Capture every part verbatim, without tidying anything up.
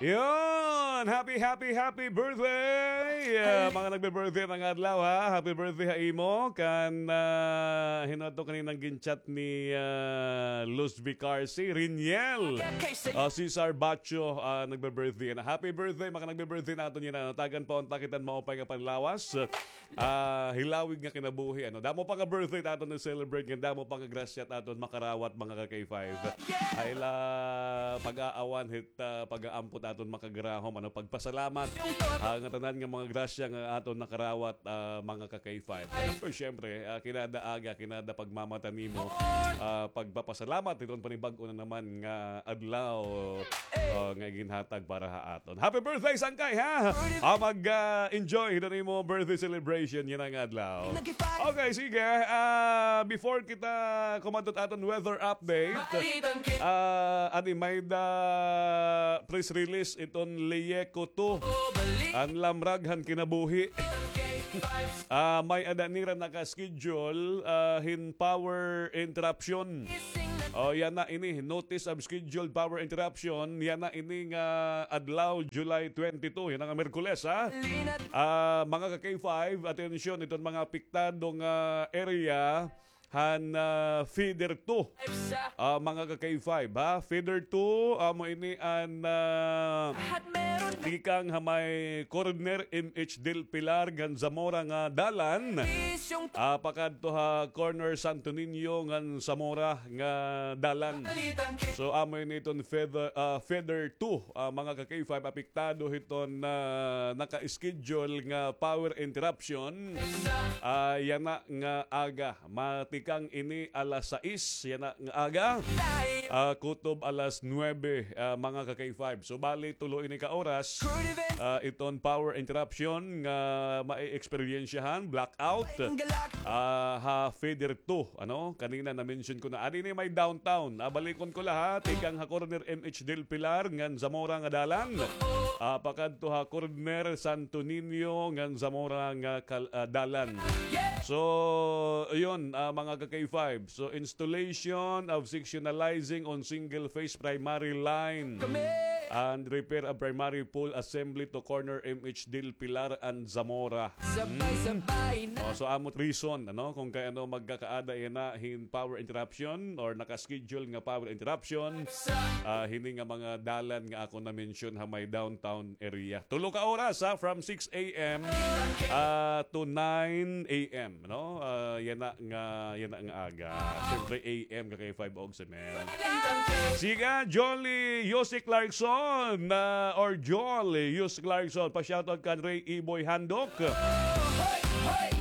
Yon! Happy, happy, happy birthday! Ah, mga nagbe-birthday mga adlaw, ha? Happy birthday ha imo. Kan, ah, hin-o ato kaninang gin-chat ni, ah, Luz Vicarsi, Riniel. Ah, Cesar Bacho, ah, nagbe-birthday na. Happy birthday, mga nagbe-birthday naton yana. Tagan pa unta kita hin maupay nga panlawas. Ah, hilawig nga kinabuhi, ano. Damo pa nga birthday it aton na-celebrate, ngan damo pa nga grasya it aton makarawat, mga ka-K five. Ay la, pag-aawan hit, ah, pag-aampo it aton makagarahom, ano, pagpasalamat, ah, nga tanan nga mga grasya nga aton nakarawat, ah, mga ka-K five. Pero syempre, ah, kinada aga, kinada pagmamata nimo, ah, pagpapasalamat hiton panibag-o na naman nga adlaw, ah, nga ginhatag para ha aton. Happy birthday, Sangkay, ha? Ah, mag, ah, enjoy hiton imo birthday celebration yana nga adlaw. Okay, sige. Ah, before kita kumadto hit aton weather update, ah, adi, may-ada press release iton LIECO two. An lamrag han kinabuhi. Ah, may-ada nira naka-schedule, ah, hin power interruption. O, yana ini, notice of scheduled power interruption. Yana ini nga adlaw, July twenty-two. Yana nga Miyerkules, ha? Ah, mga ka-K five, atensyon, iton mga apektado nga area han, ah, feeder two. Ah, mga ka-K five, ha? Feeder two, amo ini an, ah, tikang ha may corner M H Del Pilar ngan Zamora nga dalan. Ah, pakadto ha corner Santo Niño ngan Zamora nga dalan. So, amo ini iton feeder, ah, feeder two, ah, mga ka-K five, apektado hiton, ah, naka-schedule nga power interruption. Ah, yana nga aga. Matikang ini alas sais, yana nga aga. Ah, kutob alas nuebe, ah, mga ka-K five. So, bali, tulo ini ka oras, ah, iton power interruption nga ma-experiensyahan, blackout, ah, ha feeder two, ano? Kanina na-mention ko na. Adi ini may downtown. Ah, balikon ko la, ha. Tikang ha corner M H Del Pilar ngan Zamora nga dalan. Ah, pakadto ha corner Santo Niño ngan Zamora nga kal-, ah, dalan. So, yun, ah, mga ka-K five. So, installation of sectionalizing on single phase primary line and repair of primary pole assembly to corner M H Del Pilar and Zamora. Sabay-sabay na. Oh, so, amo it reason, ano, kung kay ano magkakaada yana hin power interruption or naka-schedule nga power interruption. Ah, hini nga mga dalan nga ako na-mention ha may downtown area. Tulo ka oras, ha, from six a m, ah, to nine a m, no? Ah, yana nga, yana nga aga. Siyempre, A M ka kay five og seven. Siga, Jolly, Yusik Clarkson, ah, or Jolly, Yusik Clarkson, pa-shoutout kan Ray Iboy Handok.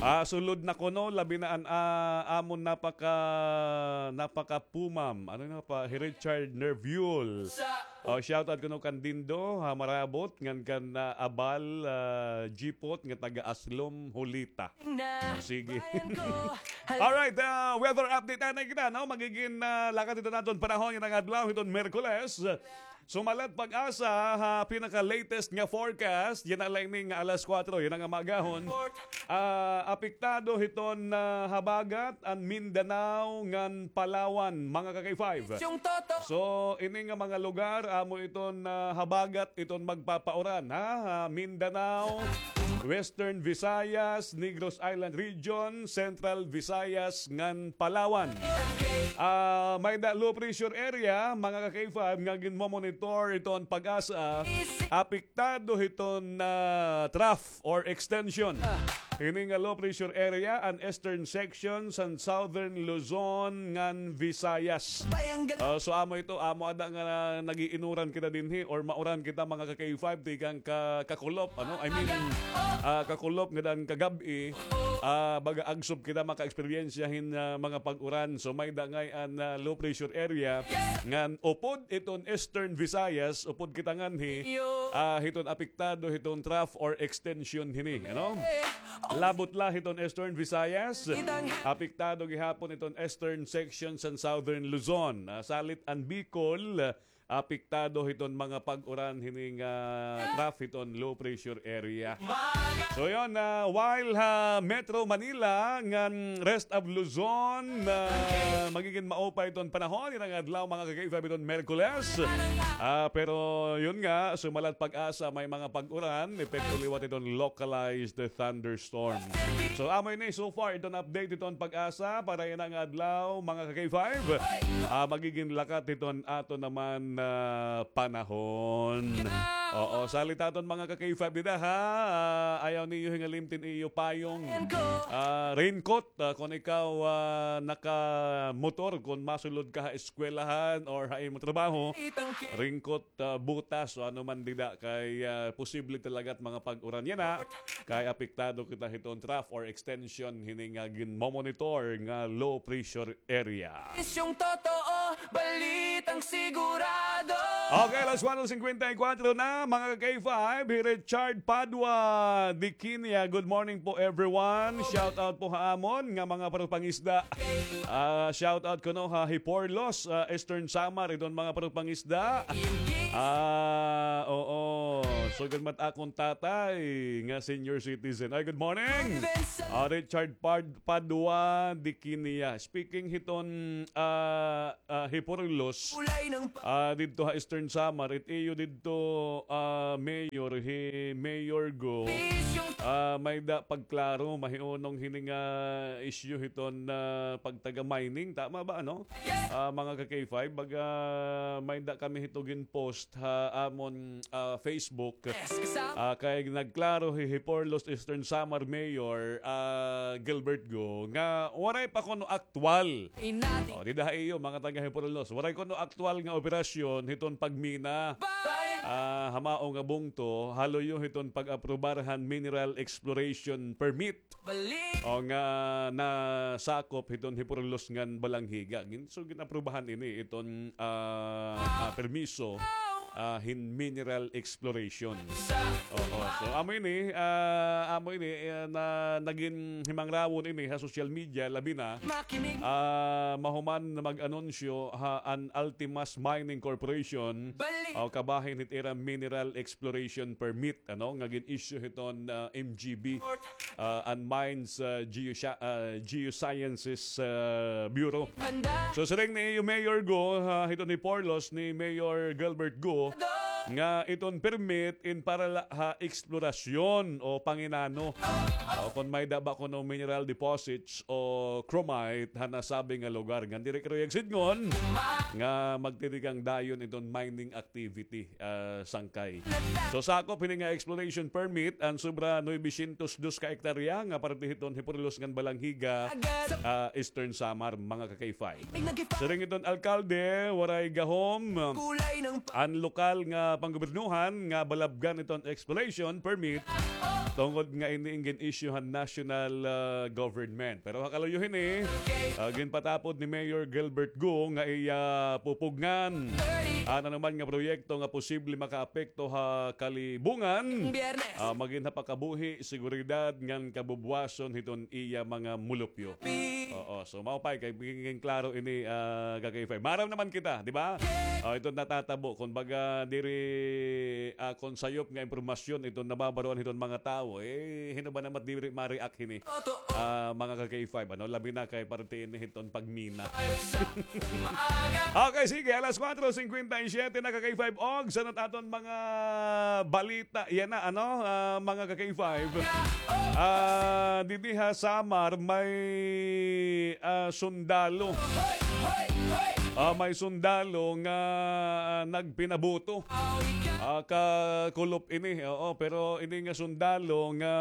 Ah, sulod na kuno, labi na an, ah, amon napaka, napakapumam. Ano na pa? Hi Richard Nerviol. Oh, shoutout kuno kan Dindo, ha, Marabot, ngan kan, ah, Abal, ah, Jipot, nga taga Aslom, Hulita. Sige. Alright, ah, weather update anay kita, no? Magigin, ah, lakad ito naton panahon yana nga adlaw, hiton Miyerkules. Sumalat PAGASA ha pinaka-latest nga forecast, yana la ini nga alas kuwatro, yana nga maagahon. Ah, apektado hiton, ah, habagat an Mindanao ngan Palawan, mga ka-K five. So, ini nga mga lugar, amo iton, ah, habagat iton magpapauran, ha? Ha Mindanao, Western Visayas, Negros Island Region, Central Visayas, ngan Palawan. Ah, may-ada low pressure area, mga ka-K five, nga ginmomonitor iton PAGASA. Apektado hiton, ah, trough or extension. Hini nga low pressure area an eastern section san Southern Luzon ngan Visayas. Ah, so amo ito, amo ada nga nag-iinuran kita dinhi or mauran kita mga ka-K five tikang ka, kakulop, ano? I mean, ah, kakulop ngada an kagab-i, ah, baga agsop kita maka-eksperyensya hin, ah, mga pag-uran. So may-ada ngay-an, ah, low pressure area ngan upod iton Eastern Visayas, upod kita nganhi, ah, hiton apektado hiton trough or extension hini, ano? Labot la hiton Eastern Visayas, apektado gihapon iton eastern section san Southern Luzon. Ah, salit an Bicol, ah, apektado hiton mga pag-uran hini nga trough hiton low pressure area. So yun, ah, while ha Metro Manila ngan rest of Luzon, ah, magigin maupay iton panahon yana nga adlaw, mga ka-K five, iton Miyerkules. Ah, pero yun nga, sumalat PAGASA, may mga pag-uran, epekto liwat iton localized thunderstorm. So, amo ini so far iton update iton PAGASA para yana nga adlaw, mga ka-K five. Ah, magigin lakat iton aton naman, ah, panahon. Oo, salit aton mga ka-K five dida, ha. Ah, ayaw niyo hingalimtin iyo payong. Ah, raincoat, ah, kon ikaw, ah, nakamotor, kon masulod ka ha eskwelahan or ha imo trabaho, raincoat, ah, botas, o ano man dida, kay, ah, posible talaga it mga pag-uran yana, kay apektado kita hiton trough or extension hini nga ginmomonitor nga low pressure area. Isyong totoo, balitang sigurado. Okay, alas kuwatro singkwenta y kuwatro na, mga ka-K five, hi Richard Padua, Diquinia. Good morning po, everyone. Shout out po ha amon nga mga parupangisda. Ah, shout out kuno ha Hiporlos, ah, Eastern Samar, iton mga parupangisda. Ah, oo. Sugad man it akon tatay nga senior citizen. Ay, good morning. Ah, Richard Pad Padua Diquinia. Speaking hiton, ah, ah, Hiporlos, ah, didto ha Eastern Samar, it iyo didto, ah, mayor, hi Mayor Go. Ah, may-ada pagklaro, mahiunong hini nga issue hiton, ah, pagtaga-mining. Tama ba, ano? Ah, mga ka-K five, baga may-ada kami hito gin-post ha amon, ah, Facebook. Ah, kay nagklaro hi Hiporlos Eastern Samar Mayor, ah, Gilbert Go, nga waray pa kuno aktuwal. O, dida ha iyo, mga taga Hiporlos, waray kuno aktuwal nga operasyon hiton pagmina, ah, ha mao nga bungto, ha luyo hiton pag-aprobar han mineral exploration permit. O, nga nasakop hiton Hiporlos ngan Balangiga. Gin-, so, gin-aprubahan ini iton, ah, ah, permiso, ah, hin mineral exploration. Oo. So, amo ini, ah, amo ini, eh, na nagin himangrawon ini ha social media, labi na, ah, mahuman na mag-anunsyo ha an Ultimas Mining Corporation, o, kabahin hit ira mineral exploration permit, ano, nga gin-issue hiton, ah, M G B, ah, an Mines, ah, Geosci-, ah, Geosciences, ah, Bureau. So, siring ni Mayor Go, ha, hiton Hiporlos ni Mayor Gilbert Go, nga iton permit in para la ha eksplorasyon o panginano. O kon may-ada ba kuno mineral deposits o chromite ha nasabi nga lugar. Ngan diri kay sidngon nga magtitikang dayon iton mining activity, ah, sangkay. So, sakop hini nga exploration permit an sobra nuebe syentos dos ka ektarya nga parte hiton Hiporlos ngan Balangiga, ah, Eastern Samar, mga ka-K five. Siring hiton alkalde, waray gahom an lokal nga panggobyernohan nga balabgan iton exploration permit tungod nga ini in gin-issue han national, ah, government. Pero ha kaluyo hini, ah, ginpatapod ni Mayor Gilbert Go nga iya pupugngan an anuman nga proyekto nga posible makaapekto ha kalibungan, ah, magin ha pagkabuhi, seguridad ngan kabubwason hiton iya mga mulupyo. Oo, so maupay kay magigin klaro ini, ah, ka-K five. Maaram naman kita, di ba? Ah, iton natatabo, kumbaga, diri, ah, kon sayop nga impormasyon iton nababaroan hiton mga tawo, eh, hin-o ba naman diri ma-react hini? Ah, mga ka-K five, ano, labi na kay parte ini hiton pagmina. Okay, sige, alas kuwatro singkwenta y siyete na, ka-K five, og sa aton mga balita, yana, ano, ah, mga ka-K five. Ah, didi ha Samar, may, ah, sundalo. Ah, may sundalo nga, ah, nagpinabuto. Ah, kakulop ini, oo, pero ini nga sundalo nga,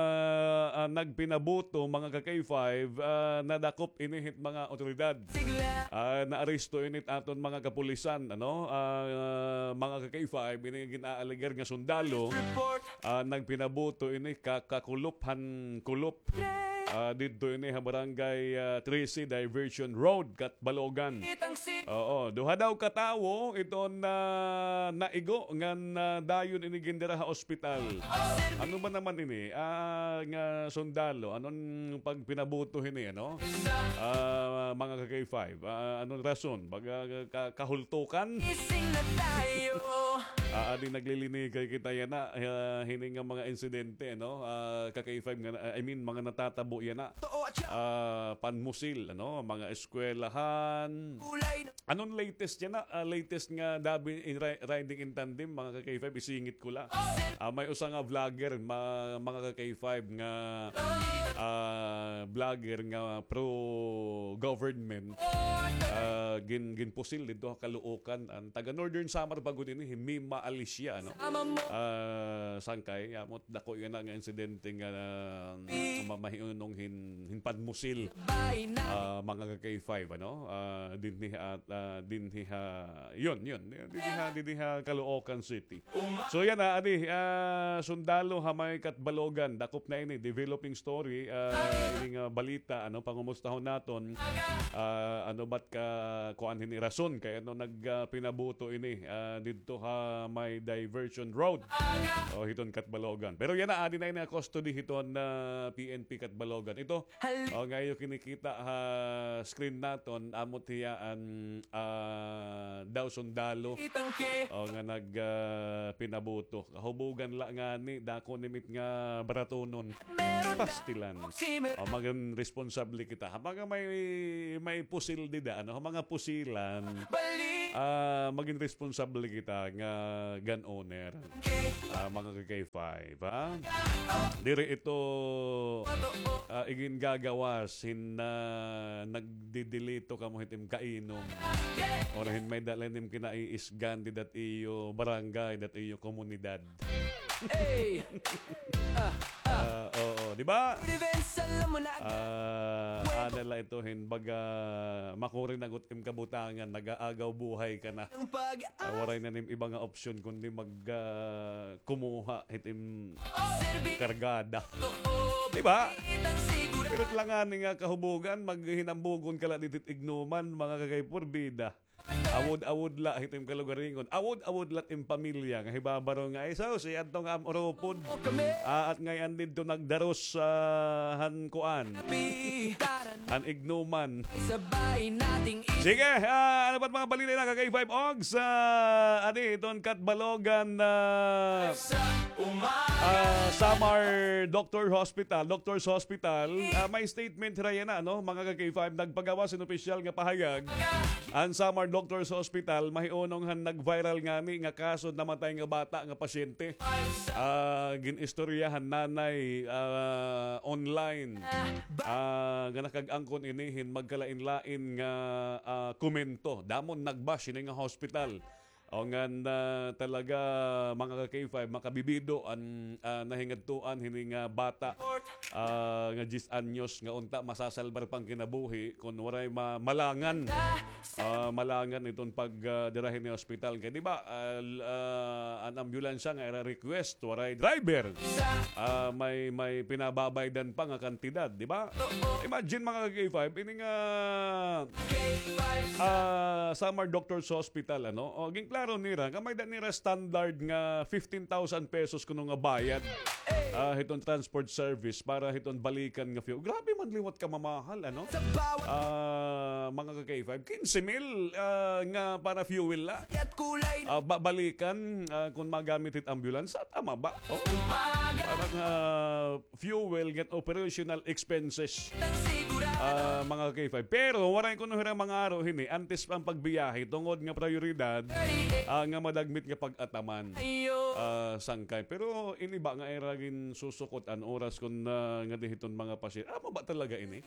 ah, nagpinabuto, mga ka-K five, ah, nadakop ini hit mga otoridad. Ah, naaresto ini hit aton mga kapulisan, ano? Ah, mga ka-K five, ini gin-aalegar nga sundalo, ah, nagpinabuto ini ka-, kakulop han kulop. Ah, didto ini ha Barangay, ah, trese Diversion Road, Catbalogan. Oo, duha daw ka tawo iton naigo ngan dayon ini gindira ha ospital. Ano ba naman ini? Ah, nga sundalo, ano an pagpinabuto hini, ano? Ah, mga ka-K five, ah, ano an rason? Baga ka-, kahultukan? Ah, adi naglilinigay kita yana, ah, hini nga mga insidente, no? Ah, ka-K five nga, I mean, mga natatabo yana. Ah, panmusil, ano? Mga eskwelahan. Ano an latest yana? Ah, latest nga dabi in ri-, riding in tandem, mga ka-K five, isingit ko la. Ah, may usa nga vlogger, ma-, mga ka-K five, nga, ah, vlogger nga pro-government. Ah, gin-, ginpusil didto ha Caloocan. An taga Northern Samar pa gud ini, hi Mima Alicia, ano? Ah, sangkay, amo dako yana nga insidente nga, ah, ma-, mahiunong hin-, hin panmusil. Ah, mga ka-K five, ano? Ah, dinhi ha, ah, dinhi ha, yun, yun, dinhi ha, dinhi ha Caloocan City. So, yana, adi, ah, sundalo ha may Catbalogan, dakop na ini, developing story, ah, ini nga balita, ano, pangumustahon naton, ah, ano ba't ka, kuan hini rason, kay ano nag, ah, pinabuto ini, ah, didto ha may Diversion Road. O, hiton Catbalogan. Pero yana, adi na ini ha custody hiton, ah, P N P Catbalogan. Ito, o, nga iyo kinikita ha screen naton, amo hiya an, ah, daw sundalo. O, nga nag, ah, pinabuto. Kahubugan la ngani, dako nimit nga baratunon. Pastilan. O, magin responsable kita. Ha mga may, may pusil dida, ano? Ha mga pusilan, ah, magin responsable kita nga gun owner. Ah, mga ka-K five, ha? Diri ito, ah, igin gagawas hin, ah, nagdidilito kamo hit im kainom. Or hin may dala nim kinaiisgan dida ha iyo barangay, dida ha iyo komunidad. Ah, oo, di ba? Ah, ada la ito hin baga makuri na gud im kabutangan, nag-aagaw buhay ka na. Ah, waray na nim iba nga opsyon kundi mag, ah, kumuha hit im kargada. Di ba? Pero it la ngani nga kahubugan, maghinambugon ka la dida hit ignuman, mga ka-K five, bida. Awod-awod la hit im kalugaringon. Awod-awod la it im pamilya nga hibabaro nga, ay, sus, si adto nga am-urupod. Ah, at ngay-an didto nagdaros, ah, han kuan. Han ignuman. Sige, ah, ano pa it mga balita na ka-K five Ogs? Ah, adi, iton Catbalogan, ah, ah, Samar Doctor Hospital, Doctor's Hospital, ah, may statement hira yana, no? Mga ka-K five, nagpagawas hin opisyal nga pahayag an Samar Doctor's Hospital, mahiunong han nag-viral ngani nga kaso namatay nga bata nga pasyente. Ah, gin-istorya han nanay, ah, online. Ah, nga nakag-angkon ini hin magkalain-lain nga, ah, komento. Damo nagbash hini nga hospital. O ngan, ah, talaga, mga ka-K five, makabibido an, ah, nahingadtuan hini nga bata, ah, nga diyes anyos nga unta masasalbar pa an kinabuhi kon waray ma-, malangan. Ah, malangan iton pag, ah, dira hini ospital. Kay di ba, ah, l-, ah, an ambulansya nga ira request, waray driver. Ah, may, may pinababaydan pa nga kantidad, di ba? Imagine, mga ka-K five, ini nga, ah, Samar Doctors Hospital, ano? O, ginklaro nira nga may-ada nira standard nga fifteen thousand pesos kuno nga bayad, ah, hiton transport service para hiton balikan nga fuel. Grabe man liwat kamamahal, ano? Ah, mga ka-K five, kinse mil, ah, nga para fuel la. Ah, ba-, balikan, ah, kon magamit hit ambulance, tama ba? O, para nga fuel ngan operational expenses. Ah, mga ka-K five. Pero waray kuno hira mangaro hini, antes pa an pagbiyahe, tungod nga prayoridad, ah, nga madagmit nga pag-ataman. Ah, sangkay. Pero ini ba nga ira ginsusukot an oras kon, ah, ngadi hiton mga pasyente? Amo ba talaga ini?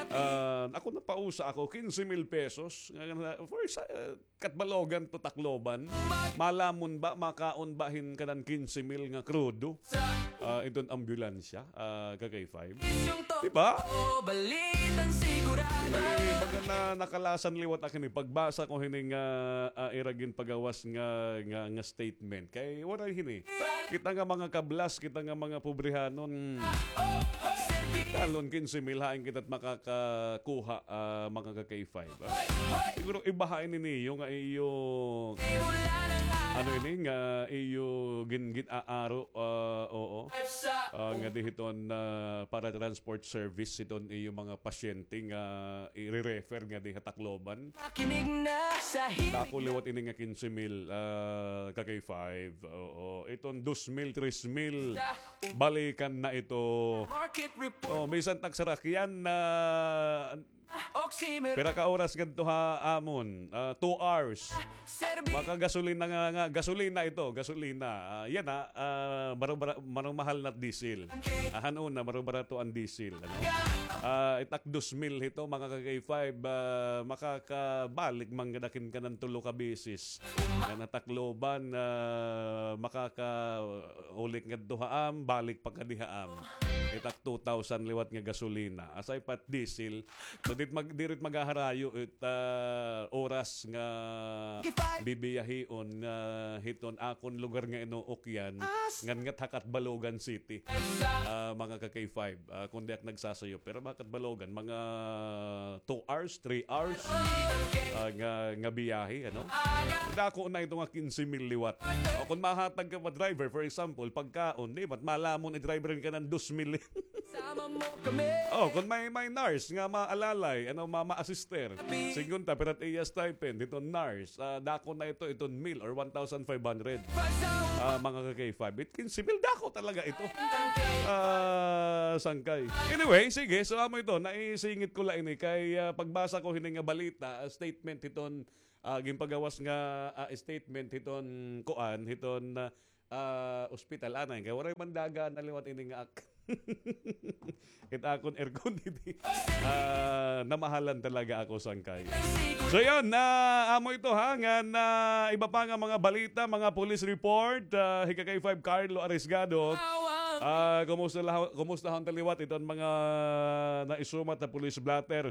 Ah, ako napausa ako, kinse mil pesos. Nga, nga, for sa, ah, Catbalogan to Tacloban. Malamon ba, makaon ba hin kanan kinse mil nga krudo? Ah, iton ambulansya, ah, ka-K five. Di ba? Eh, baga na nakalasan liwat ak hini pagbasa ko hini nga, ah, ira ginpagawas nga, nga, nga statement. Kay waray hini. Kita nga mga kablas, kita nga mga pobrihanon. Talon kinse mil hain kita it makakakuha, ah, mga ka-K five, ah. Siguro ibaha ini niyo nga iyo, ano ini, nga iyo gin-, gin-aaro, ah, oo. Ah, nga di hiton, ah, para transport service hiton iyo mga pasyente nga i-refer nga di ha Tacloban. Dako liwat ini nga kinse mil, ah, ka-K five. Oo. Iton dos mil, tres mil, balikan na ito. Oh, bisan tagsarakyan na pira ka oras ngadto ha amon? Ah, two hours. Makagasolina nga, nga, gasolina ito, gasolina. Ah, yana, ah, marubara-, marumahal na diesel. Ah, han una, marubarato an diesel, ano? Ah, it ak dos mil hito, mga ka-K five, ah, makakabalik man gad ak hin kanan tulo ka beses. Ngan ha Tacloban, ah, makakaulik ngadto ha am, balik pa kadi ha am. It ak two thousand liwat nga gasolina. Aside pa it diesel, so, dit mag-, diri it maghaharayo it, ah, oras nga bibiyahion, ah, hiton akon lugar nga inuukyan, ngan ngat ha Catbalogan City. Ah, mga ka-K five, ah, kon di ak nagsasayop. Pero mga Catbalogan, mga two hours, three hours, ah, nga, nga biyahe, ano? Dako na ito nga kinse mil liwat. O, kon mahatag ka pa driver, for example, pagkaon, di, mat malamon i-driver ka ng dos mil. Oh, kon may, may nurse nga maalalay, ano, ma-, ma-assister. Sigunta, pira it iya stipend, ito nurse. Ah, dako na ito, iton mil or one thousand five hundred. Ah, mga ka-K five, it kinse mil, dako talaga ito. Ah, sangkay. Anyway, sige, so amo ito, naisingit ko la ini kay, ah, pagbasa ko hini nga balita, ah, statement hiton, ah, ginpagawas nga, ah, statement hiton kuan, hiton, ah, ah, ospital anay, kay waray man dagan na liwat ini nga ak-, it akon aircon didi. Ah, namahalan talaga ako, sangkay. So, yun, na amo ito, ha, nga na iba pa nga mga balita, mga police report, ah, hi ka-K five Carlo Arisgado. Ah, kumusta la-, kumusta hon ta liwat iton mga naisumat na police blotter?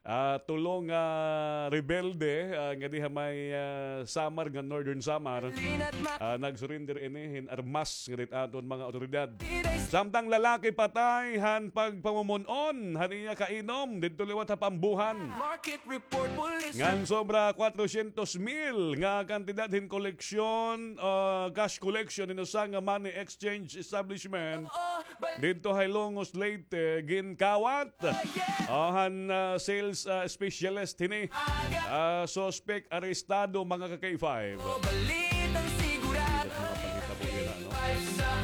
Ah, tulo nga rebelde, ah, nga diha may, ah, Samar, nga Northern Samar, ah, nagsurrender ini hin armas nga dit aton mga awtoridad. Samtang lalaki patay han pagpamumon-on han iya kainom didto liwat ha Pambuhan. Ngan sobra kwatrosyentos mil nga kantidad hin koleksyon, ah, cash collection hin usa nga money exchange establishment didto ha Hilongos, Leyte, ginkawat. O, han, ah, sales, ah, specialist hini. Ah, suspect arestado, mga ka-K five.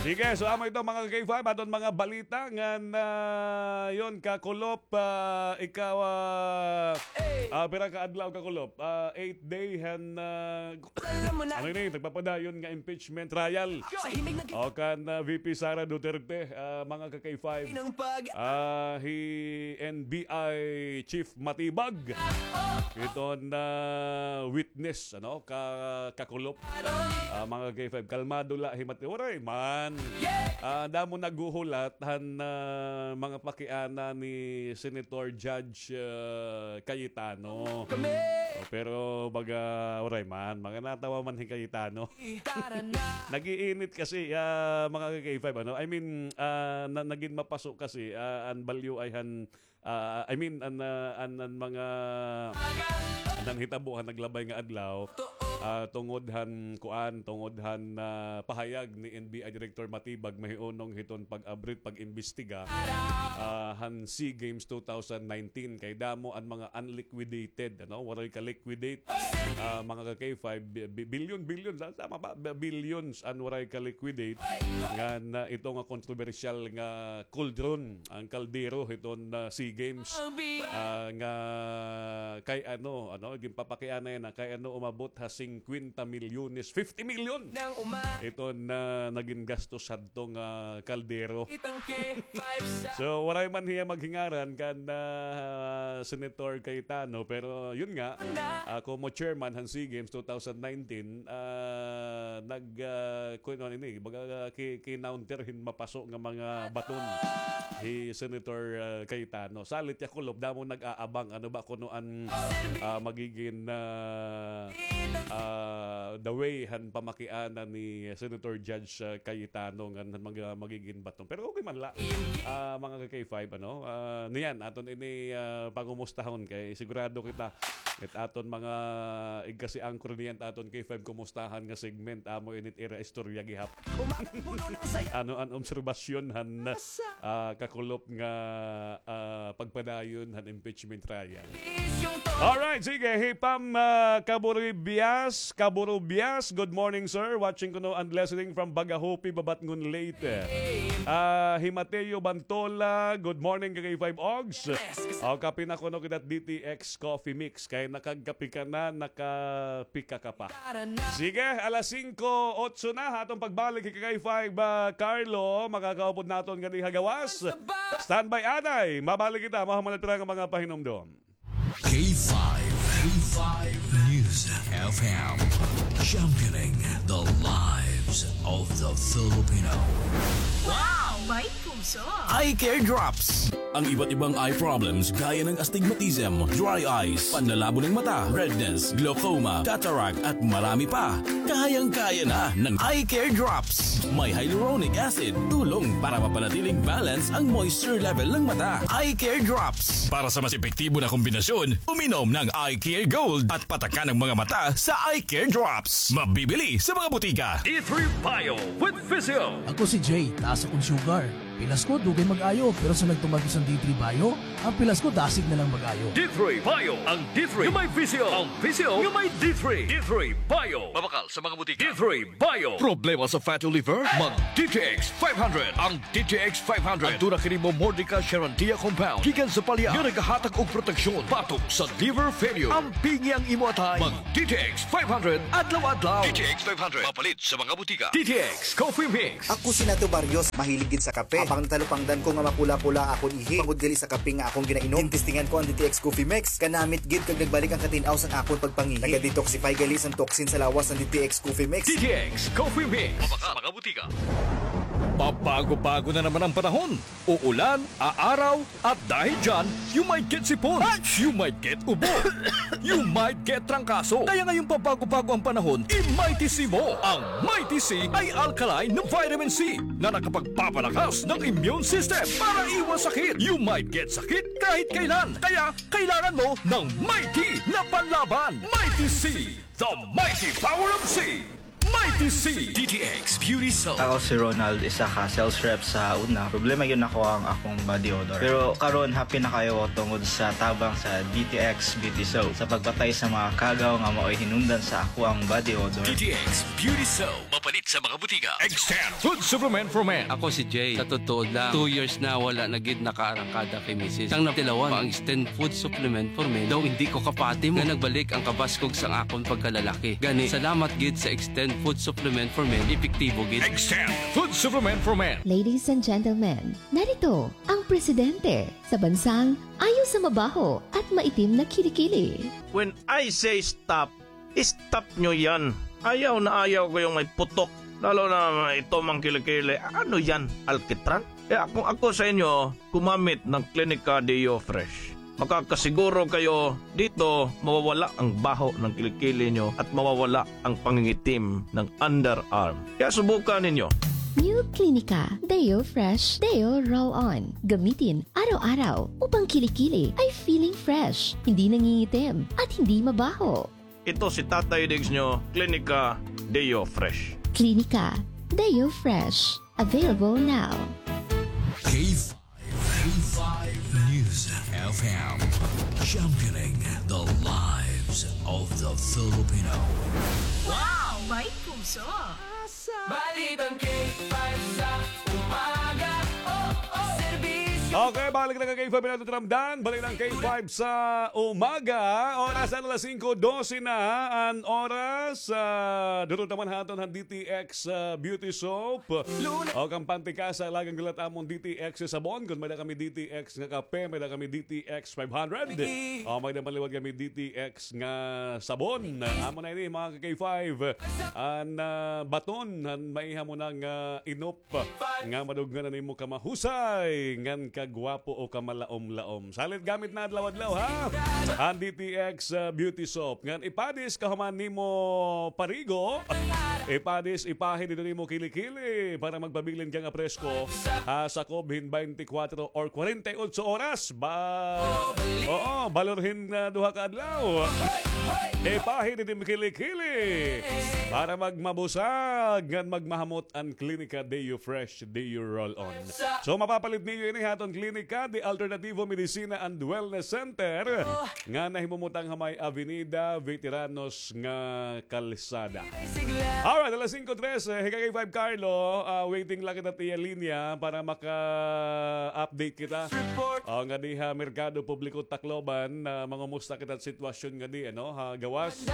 Sige, so amo ito, mga ka-K five, aton mga balita ngan, ah, yun, Kakulop, ah, ikaw, ah, ah, pira ka adlaw, Kakulop? Ah, eight day han, ah, ano ini, nagpapadayon nga impeachment trial. O kan, ah, V P Sara Duterte, ah, mga ka-K five. Ah, hi N B I Chief Matibag. Iton, ah, witness, ano, ka, Kakulop. Ah, mga ka-K five, kalmado la hi Mati-, waray man. Ah, damo naghuhulat han, ah, mga pakiana ni Senator Judge, ah, Cayetano. O, pero baga, waray man, mga natawa man hi Cayetano. Nag-iinit kasi, ah, mga ka-K five, ano? I mean, ah, na, nagin mapaso kasi, ah, an balyo ay han, ah, I mean, an, ah, an, an mga, an nanhitabo han naglabay nga adlaw, ah, tungod han kuan, tungod han, ah, pahayag ni N B I Director Matibag, mahihunong hiton pag-abrit, pag-imbestiga, ah, han SEA Games two thousand nineteen. Kay damo an mga unliquidated, ano, waray ka-liquidate, ah, mga ka-K five, bi-, bi-, billion, billion, sa-, sama ba? Bi-, billions an waray ka-liquidate. Ngan, ah, ito nga kontrobersyal nga cauldron, an kaldero hiton, ah, SEA Games, ah, nga kay ano, ano, ginpapakiana yana, kay ano umabot ha singkwenta milyones, fifty million. Iton, ah, nagin gastos hadto nga kaldero. So, waray man hiya maghingaran kan, ah, Senator Cayetano, pero yun nga, ah, komo chairman han SEA Games two thousand nineteen, ah, nag, ah, kun ano ini, baga, ah, ki-, kinounter hin mapaso nga mga baton hi Senator, ah, Cayetano. Salit ya kulop, damo nag-aabang, ano ba kuno an, ah, magigin, ah, ah, the way han pamakiana ni Senator Judge, ah, Cayetano ngan han mga magigin baton. Pero okay man la, ah, mga ka-K five, ano, ah, niyan, aton ini, ah, pangumustahon kay sigurado kita, it aton mga igkasi-anchor niyan, aton K five kumustahan nga segment, amo ini it ira istorya gihap. Ano an obserbasyon han, ah, kakulop nga, ah, pagpadayon han impeachment trial? Alright, sige, hi Pam, ah, Kaburibias, Kaburibias, good morning, sir. Watching kuno and listening from Bagahopi, Babatngon, Leyte. Ah, hi Mateo Bantola, good morning, ka-K five Ogs. O, kape na kuno kita D T X Coffee Mix. Kay nakagkape ka na, nakapika ka pa. Sige, alas singko, otso na, aton pagbalik, hi ka-K five, ah, Carlo, makakaupod naton ganiha gawas. Standby, anay, mabalik kita, mahuman it ira nga mga pahinumdom. K five, K five News F M, championing the lives of the Filipino. Wow! May puso! Eye Care Drops. Ang iba't ibang eye problems gaya ng astigmatism, dry eyes, panlalabo ng mata, redness, glaucoma, cataract, at marami pa. Kayang-kaya na ng Eye Care Drops. May hyaluronic acid, tulong para mapanatiling balance ang moisture level ng mata. Eye Care Drops. Para sa mas epektibo na kombinasyon, uminom ng Eye Care Gold at patakan ang mga mata sa Eye Care Drops. Mabibili sa mga butika. D three Bio with Physio. Ako si Jay, taas akon sugar. Pilas ko, dugay mag-ayo, pero sa nagtuman ko sa D three Bio, ang pilas ko, dasig na lang mag-ayo. D three Bio, ang D three nga may Physio, ang Physio nga may D three. D three Bio. Mabakal sa mga butika. D three Bio. Problema sa fatty liver? Mag D T X five hundred. Ang D T X five hundred. Aduna kini Momordica Charantia compound gikan sa palya nga nagahatag og proteksyon batok sa liver failure. Ampingi ang imo atay. Mag D T X five hundred adlaw-adlaw. D T X five hundred. Mapalit sa mga butika. D T X Coffee Mix. Ako si Nato Barrios, mahilig gid sa kape. Apang natalupangdan ko nga mapula-pula akon ihi tungod gali sa kape nga akon ginainom. Testingan ko an D T X Coffee Mix. Kanamit gid kag nagbalik an katin-aw san akon pagpangihi. Naga-detoxify gali san toxin sa lawas an D T X Coffee Mix. D T X Coffee Mix. Mabakal sa mga butika. Pabago-bago na naman ang panahon. Uulan, aaraw, at dahil dyan, you might get sipon. You might get ubo. You might get trangkaso. Kaya ngayong pabago-bago ang panahon, i-Mighty C mo. Ang Mighty C ay alkaline na vitamin C na nakapagpapalakas ng immune system para iwas sakit. You might get sakit kahit kailan. Kaya kailangan mo ng Mighty na panlaban. Mighty C, the mighty power of C. Mighty C. D T X Beauty Soap. Ako si Ronald, isa ka sales rep sa una. Problema gyud nako ang akong body odor. Pero karon, happy na kaayo ko tungod sa tabang sa D T X Beauty Soap sa pagpatay sa mga kagaw nga maoy hinungdan sa akoang body odor. D T X Beauty Soap. Mapalit sa mga butika. Extend Food Supplement for Men. Ako si Jay. Sa totoo lang, two years na wala na gid nakaarangkada kay misis. Sang natilawan pa ang Extend Food Supplement for Men, daw indi ko kapati mo nga nagbalik ang kabaskog sang akon pagkalalaki. Gani, salamat gid sa Extend Food Supplement for Men, epektibo gid. Extend Food Supplement for Men. Ladies and gentlemen, narito ang presidente sa bansang ayaw sa mabaho at maitim na kilikili. When I say stop, stop nyo yan. Ayaw na ayaw ko yung may putok. Lalo na ito mang kilikili. Ano yan? Alkitran? Kaya kung ako sa inyo, gumamit ng Clinica Deo Fresh. Makakasiguro kayo dito mawawala ang baho ng kilikili nyo at mawawala ang pangingitim ng underarm. Kaya subukan ninyo. New Clinica Deo Fresh Deo Roll-On. Gamitin araw-araw upang kilikili ay feeling fresh, hindi nangingitim, at hindi mabaho. Ito si Tatay Diggs nyo, Clinica Deo Fresh. Clinica Deo Fresh. Available now. K five, K five News F M. Championing the lives of the Filipino. Wow! May puso! Balitang K five sa umaga. Oh, oh. Serbisyo. Okay, balik na ka K five in aton ramdan. Balik na an K five sa umaga. Oras na alas singko dose na an oras. Ah, durot naman ha aton han D T X, ah, Beauty Soap. O, kampante ka sa lagang dilat amon D T X sabon. Kon may-ada kami D T X nga kape, may-ada kami D T X five hundred. O, may-ada man liwat kami D T X nga sabon. Amo na ini, mga ka K five. An, ah, baton, an maiha mo na nga inop nga madughan na nimo kamahusay ngan kagwapo o kamalaom-laom. Salit gamit na adlaw-adlaw, ha? An D T X, ah, Beauty Soap. Ngan ipadis kahuman nimo parigo. Ipadis, ipahi didto nimo kili-kili para magpabilin ka nga presko. Ha, sakob hin twenty-four or forty-eight oras. Ba, oo, balor hin, ah, duha ka adlaw. Ipahi didto nimo kili-kili para magmabusag ngan magmahamot an Klinika Deo Fresh, Deo Roll-On. So, mapapalit niyo ini ha aton klinika, The Alternativo Medicina and Wellness Center, nga nahimumutang ha may Avenida Veteranos nga kalsada. Alright, alas singko trese, hi ka K five Carlo, ah, waiting la kita ha iya linya para maka-update kita. O, ngadi ha Merkado Publiko Tacloban, ah, mangumusta kita sitwasyon ngadi, ano, ha gawas.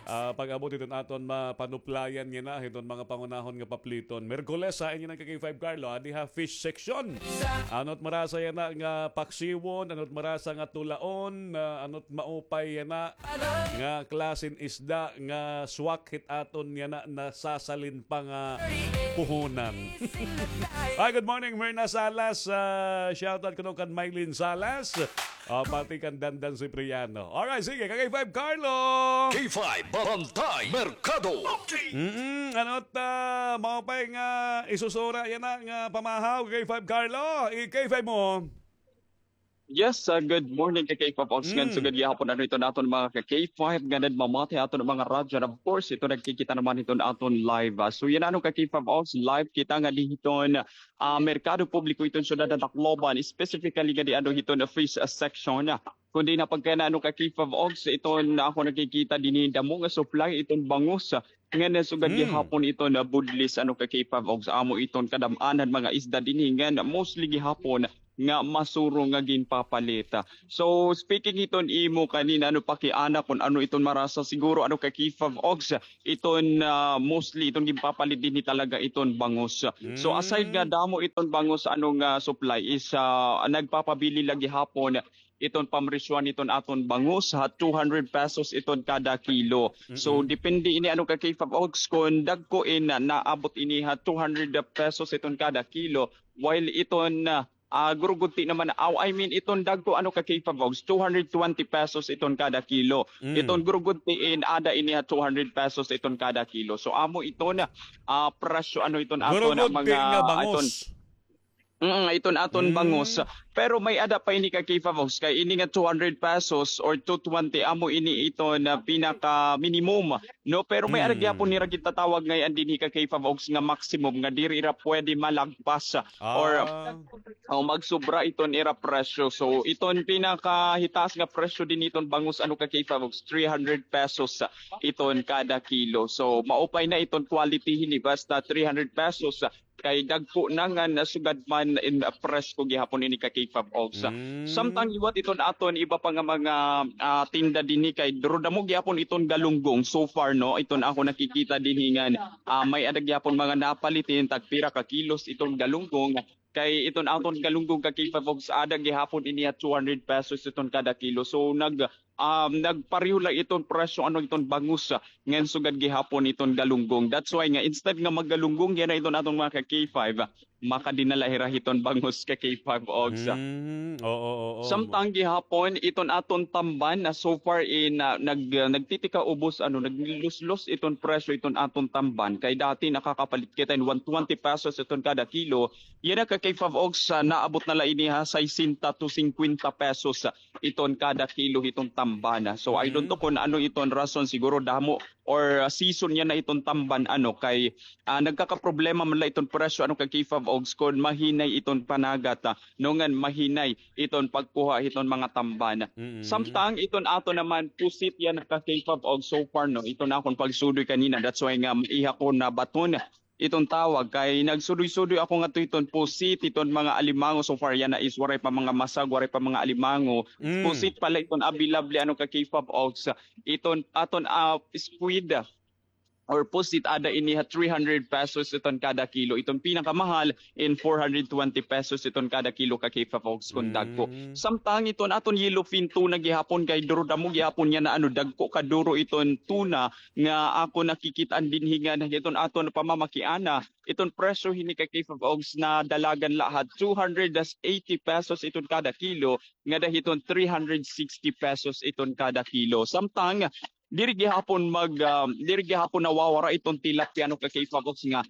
Ah, pag-abot hiton aton mapanuplayan yana, hiton mga pangunahon nga papliton. Miyerkules, ha, inyo na ka K five Carlo, adi ha fish section. Ano it marasa yana nga paksiwon, ano it marasa nga tulaon, ah, ano it maupay yana nga klase hin isda nga swak hit aton yana nasasalin pa nga puhunan. Hi, good morning, Myrna Salas. Ah, shoutout kuno kan Mylene Salas. Ah, pati kan Dandan Cipriano. Alright, sige, ka K five Carlo. K five Barangay Merkado. Mm, ano ta, maupay nga isusura yana nga pamahaw, K five Carlo. I K five mo. Yes, ah, good morning ka K five Ox. Ngan sugad gihapon ano iton aton mga ka K five nga nagmamati ha aton mga radyo. And of course, ito nagkikita naman iton aton live. Ah, so yana ano ka K five Ox, live kita ngadi hiton, ah, Merkado Publiko iton syudad han Tacloban, specifically ngadi ano hiton fish, ah, section. Kundi na pagkana ano ka K five Ox, iton ako nakikita dinhi damo nga supply iton bangus. Ngan sugad gihapon iton, ah, budlis ano ka K five Ox, amo iton kadam-an han mga isda dinhi ngan mostly gihapon nga masuro nga ginpapalit. So, speaking iton imo kanina, ano, pakiana kon ano iton marasa, siguro, ano, ka K five Ox, iton, ah, mostly iton ginpapalit dinhi talaga iton bangus. So, aside nga damo iton bangus, ano, nga supply is, ah, nagpapabili la gihapon iton pamresyohan iton aton bangus ha two hundred pesos iton kada kilo. So, depende ini, ano, ka K five Ox, kon dagko in, ah, naabot ini ha two hundred pesos iton kada kilo, while iton, ah, ah, gurugudti naman, aw, I mean, iton dagko, ano, ka K five Ox, two hundred twenty pesos iton kada kilo. Iton gurugudti in ada ini ha two hundred pesos iton kada kilo. So, amo iton, ah, presyo, ano, iton aton, ah, mga, nga bangus. Iton, mm, iton aton bangus. Pero may-ada pa ini ka K five Ox, kay ini nga two hundred pesos or two twenty, amo ini iton, ah, pinaka minimum. No, pero may-ada gihapon nira gintatawag ngay-an dinhi ka K five Ox nga maximum nga diri ira pwede malagpas, ah, or, o, magsobra iton ira presyo. So, iton pinakahitaas nga presyo dinhi iton bangus, ano, ka K five Ox, three hundred pesos, ah, iton kada kilo. So, maupay na iton quality hini, basta three hundred pesos, ah, kay dagko na ngan sugad man in, ah, presko gihapon ini ka K five Ox. Samtang liwat iton aton iba pa nga mga, ah, tinda dinhi kay duro damo gihapon iton galunggong so far, no? Iton ako nakikita dinhi ngan, ah, may-ada gihapon mga napalit hin tagpira ka kilos iton galunggong. Kay iton aton galunggong ka K five Ox, ada gihapon ini ha two hundred pesos iton kada kilo. So, nag- um, nagpareho la iton presyo, ano, iton bangus, ah, ngan sugad gihapon iton galunggong. That's why nga, instead nga maggalunggong yana iton aton mga ka K five, ah, makadinala hira hiton bangus ka K five Ox, ah. Mm, oo, oo, oo. Samtang gihapon, iton aton tamban na so far in, ah, nag-, ah, nagtitikaubos, ano, nagluslos iton presyo iton aton tamban. Kay dati nakakapalit kita in one twenty pesos iton kada kilo. Yana ka K five Ox, ah, naabot na la ini ha sesenta to singkwenta pesos, ah, iton kada kilo hiton tamban. So, I don't know kon ano iton rason, siguro damo or, ah, season yana iton tamban, ano, kay, ah, nagkakaproblema man la iton presyo, ano, ka K five Ox, kon mahinay iton panagat, ah, no, ngan mahinay iton pagkuha hiton mga tamban. Samtang iton aton naman pusit yana ka K five Ox so far, no, iton akon pagsudoy kanina, that's why nga maiha ko nabaton iton tawag kay nagsudoy-sudoy ako ngadto hiton pusit, hiton mga alimango. So far yana is waray pa mga masag, waray pa mga alimango. Mm. Pusit pala iton available, ano, ka K five Oaks. Iton aton, ah, squid or pusit, ada ini ha three hundred pesos iton kada kilo. Iton pinakamahal in four hundred twenty pesos iton kada kilo, ka K five Oaks, kon dagko. Mm. Samtang iton aton yellowfin tuna gihapon kay duro damo gihapon yana, ano, dagko kaduro iton tuna nga ako nakikit-an dinhi nga iton aton pamamakiana. Iton presyo hini, ka K five Oaks, nadalagan la ha two hundred eighty pesos iton kada kilo, ngada hiton three hundred sixty pesos iton kada kilo. Samtang diri gihapon mag, ah, diri gihapon nawawara iton tilapia, ano, ka K five Oaks, nga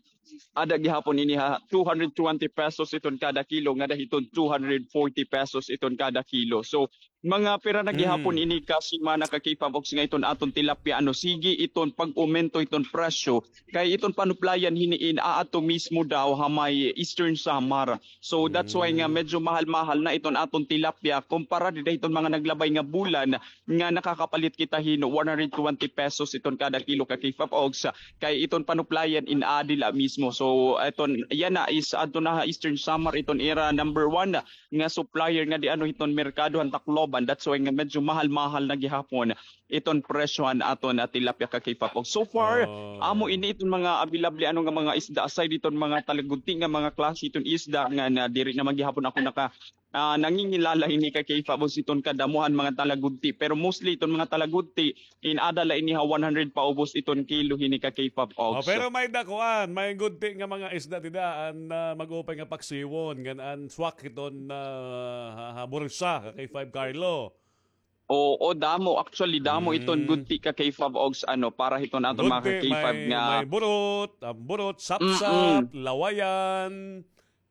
ada gihapon ini ha two hundred twenty pesos iton kada kilo, ngada hiton two hundred forty pesos iton kada kilo. So, mga pira na gihapon ini ka semana, ka K five Oaks, nga iton aton tilapia, ano, sige iton pag-umento iton presyo. Kay iton panuplayan hini in aadto mismo daw ha may Eastern Samar. So that's why nga medyo mahal-mahal na iton aton tilapia kumpara dida hiton mga naglabay nga bulan nga nakakapalit kita hin one hundred twenty pesos iton kada kilo, ka K five Oaks. Kay iton panuplayan in aadi la mismo. So iton yana is adto na ha Eastern Samar iton ira number one nga supplier ngadi, ano, hiton merkado han Tacloban. That's why nga medyo mahal-mahal na gihapon iton presyo han aton, ah, tilapia, ka K five Oaks. So far, amo ini iton mga available, ano, nga mga isda, aside iton mga talagudti nga mga klase iton isda nga, na diri naman gihapon ako naka, ah, nangingilala hini, ka K five Oaks, iton kadamo han mga talagudti. Pero mostly iton mga talagudti, in-ada la ini ha one hundred paubos iton kilo hini, ka K five Oaks. Oh, pero may dakuan, may gudti nga mga isda dida an, ah, mag-upay nga paksiwon, ngan an swak iton, ah, ha, ha bursa, ka K five Carlo. Oo, damo. Actually, damo iton gudti, ka K five Oaks, ano, para hiton aton mga ka K five nga may burot, amburot, sapsap, lawayan.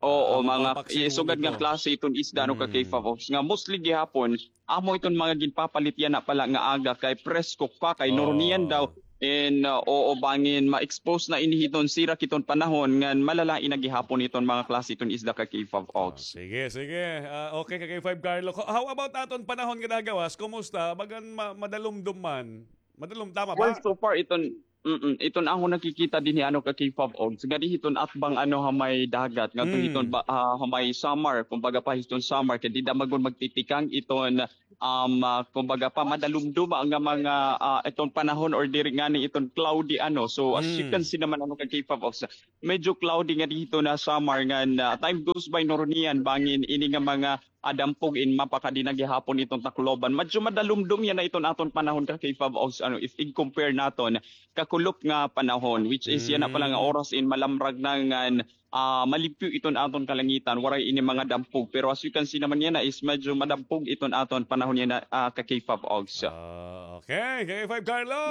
Oo, mga sugad nga klase iton isda, ano, ka K five Oaks, nga mostly gihapon amo iton mga ginpapalit yana pala nga aga kay presko pa, kay nurunian daw. And, uh, oo, bangin ma-expose na ini hiton sirak hiton panahon ngan malalain na gihapon iton mga klase iton isda, ka K five Oaks. Sige, sige. Ah, okay, ka K five Carlo. How about aton panahon nga nagawas? Kumusta? Bagan ma-, madalumdom man. Madalum, tama ba? Well, so far, iton, mm, iton akon nakikita dinhi, ano, ka K five Oaks, ngadi hiton atbang, ano, ha may dagat, ngadto hiton ba, ah, ha may Samar, kumbaga pa hiton Samar, kay dida man gud magtitikang iton, um, ah, kumbaga pa madalumdom nga mga, ah, iton panahon or diri ngani iton cloudy, ano. So as you can see naman, ano, ka K five Oaks, medyo cloudy ngadi hiton Samar ngan, ah, time goes by, nurunian bangin ini nga mga, ah, dampog in mapakadi na gihapon iton Tacloban. Medyo madalumdom yana iton aton panahon, ka K five Oaks, ano, if i-compare naton kakulop nga panahon, which is yana pala nga oras in malamrag na ngan, ah, malimpyo iton aton kalangitan, waray ini mga dampog. Pero as you can see naman yana is medyo madampog iton aton panahon yana, ah, ka K five Oaks. Ah, okay, ka K five Carlo.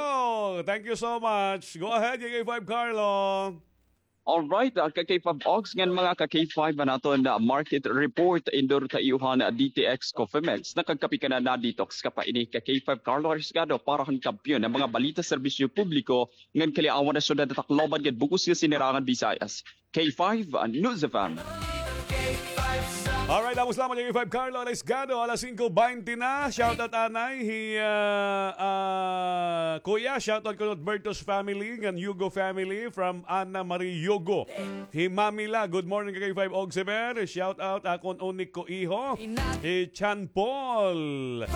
Thank you so much. Go ahead, ka K five Carlo. Alright, ah, ka K five Oaks, ngan mga ka K five, an aton, ah, market report indur ta iyo han, ah, D T X Coffee Mix. Nakagkape ka na, na-detox ka pa. Ini ka K five Carlo Arriesgado para han kampiyon nga mga balita, serbisyo publiko, ngan kaliawan han syudad han Tacloban ngan bug-os nga sinirangan Visayas. K five, ah, News F M. Alright, damo salamat, K five Carlo Arriesgado, alas singko baynte na. Shoutout anay hi, ah, ah, Kuya, shoutout kuno Bertos family, ngan Yugo family, from Ana Marie Yugo. Hi Mami La, good morning, ka K five Oaks Ever. Shoutout akon unik ko iho. Hi Chan Paul.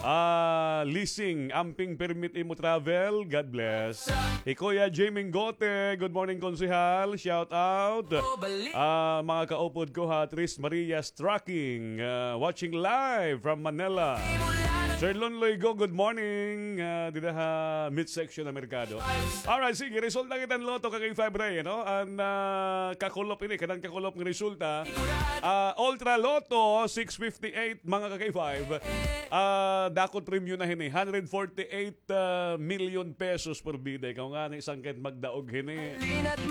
Ah, leasing, amping permit imo travel. God bless. Hi Kuya Jimmy Gote, good morning, Konsehal. Shoutout. Ah, mga kaupod ko ha, Tres Marias Trucking, ah, watching live from Manila. Sir Lunloy Go, good morning. Ah, dida ha midsection ha merkado. Alright, sige, resulta kita han Lotto, ka K five Ray, ano? An, ah, kakulop ini, kanan kakulop nga resulta. Ah, Ultra Lotto six fifty-eight, mga ka K five. Ah, dako it premyo na hini, hundred forty-eight, ah, million pesos por bida. Ikaw ngani, sangkay magdaog hini.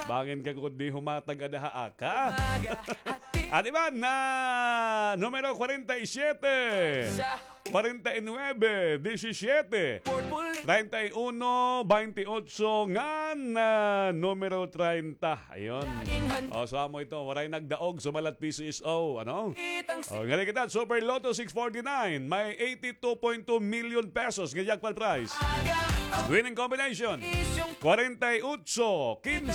Bangin ka gud di humatag ada ha aka. Adi man na numero kwarenta y siyete, kwarenta y nuebe, diyesisiyete, treinta y uno, baynte otso, ngan, ah, numero treinta. Ayun. O, so amo ito, waray nagdaog, sumalat P C S O, ano? O, ngali kita, Super Lotto six forty-nine, may eighty-two point two million pesos nga jackpot prize. Winning combination, kwarenta y otso, kinse,